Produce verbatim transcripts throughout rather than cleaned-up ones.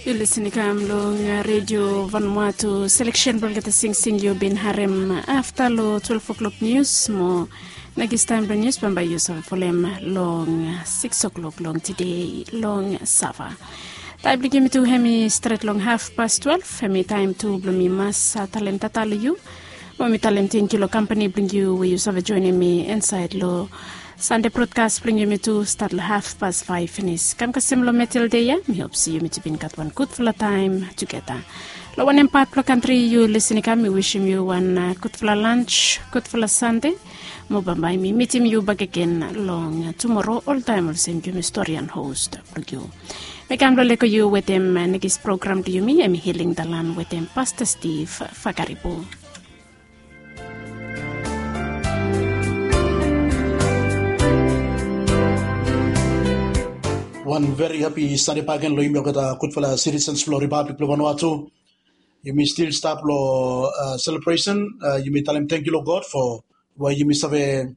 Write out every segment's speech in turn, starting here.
Yu lisin i kam long redio Vanuatu. Seleksen blong olgeta singsing yu bin harem afta long twelve o'clock nius mo nekis taem blong nius bambae yu save folem long six o'clock long tede long sava. Taem blong yumi tu hem i stret long haf pas twelve, hem i taem tu blong mi mas talem tata long yu mo mi talem tengkiu long kampani blong yu we yu save joenem mi insaed long Sande brodkas blong yumi tu stat long haf pas faef finis. Kam kasem long metel dei ya, mi hop se yumi tu bin gat wan gudfala taem tugeta. Long wanem pat blong kantri yu lisin i kam, mi wisim yu wan gudfala lans, gudfala Sande. Mo bambae mi mitim yu bakegen long tumoro oltaem olsem yumi storian hos blong yu. Mi kam long lego yu wetem nekis program blong yumi, hem i Hiling Dalan wetem Pasta Stiv Fakaribu. Wan veri hapi Sande bakegen long yumi olgeta gudfala sitisens blong Ripablik blong Vanuatu. Yumi stil stap long selebresen. Yumi talem tengkiu long God fo we yumi save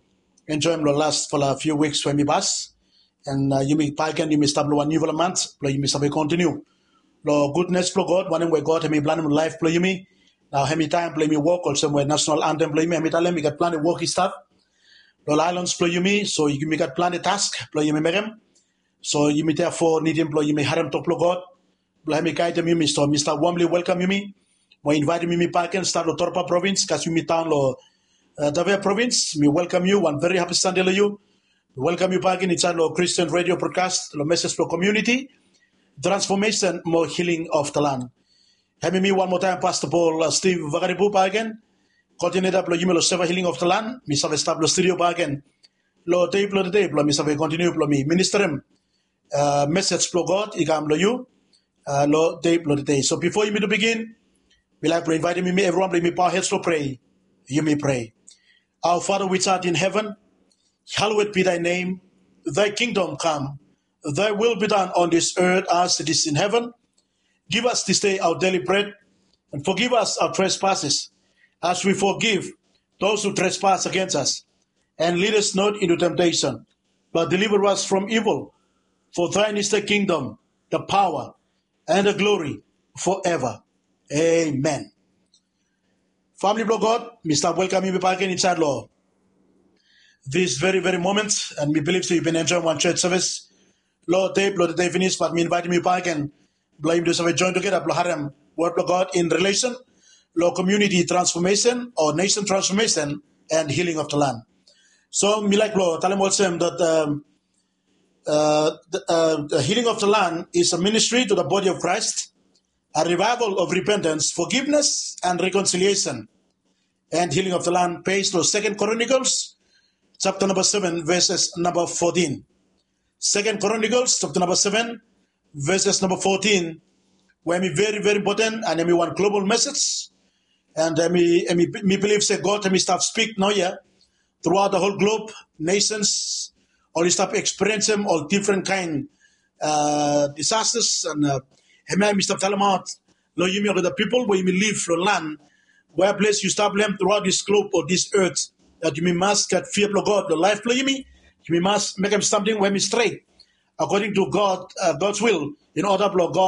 enjoem long lasfala fiu wiks we hem i pas. An yumi bakegen yumi stap long wan niufala mant blong yumi save kontiniu long gudnes blong God, wanem we God hem i planem long laef blong yumi. Nao hem i taem blong yumi wok olsem we nasonal antem blong yumi hem i talem i gat plante wok i stap long aelans blong yumi, so yumi gat plante task blong yumi mekem. So yumi therefore nidim blong yumi harem tok blong God blong hem i gaedem yumi. So mi stap wamli welkam yumi mo invaetem yumi bakegen stat long Torba provins, kasem yumi daon long Tavea provins. Mi welkam yu, wan veri hapi Sande long yu. Mi welkam yu bakegen insaed long Christian Radio Broadcast long mesej blong komuniti, transfomesen mo hiling of the land. Hem i mi wan moa taem Pasta Paul Stiv Vakaribu bakegen, koodineta blong yumi long Seva Hiling of the Land. Mi save stap long studio bakegen long dei blong tede blong mi save kontiniu blong mi ministerem mesej blong God i kam long yu long dei blong tede. So bifo yumi tu bigin, mi laek blong invaetem yumi evriwan blong yumi bao hed blong prea. Yumi prea. Our Father which art in heaven, hallowed be thy name. Thy kingdom come. Thy will be done on this earth as it is in heaven. Give us this day our daily bread, and forgive us our trespasses, as we forgive those who trespass against us. And lead us not into temptation, but deliver us from evil. For thine is the kingdom, the power, and the glory forever. Amen. Famili blong God, mi stap welkam yumi bakegen insaed long this very very moment, and mi bilif se yu bin enjoem wan church service long dei blong tede finis, bat mi invaetem yu bakegen blong yumi tu save joen tugeta blong harem wod blong God in relation long community transformation or nation transformation and healing of the land. So mi laek blong talem olsem that um, uh, the, uh, the healing of the land is a ministry to the body of Christ, a revival of repentance, forgiveness, and reconciliation, and healing of the land based on Second Chronicles chapter number seven, verses number fourteen. Second Chronicles chapter number seven, verses number fourteen, we hem i veri veri impoten and hem i wan global mesej. And hem i, hem i, mi bilif se God hem i stap spik naoia thruaot the whole globe, nations oli stap eksperiencem ol difren kaen disasters, and hemia mi stap talemaot long yumi olgeta pipol we yumi liv long lan we ples yu stap long hem thruaot this globe o this earth, that yumi mas gat fia blong God long laef blong yumi. Yumi mas mekem samting we hem i stret according to God, God's will, in order blong God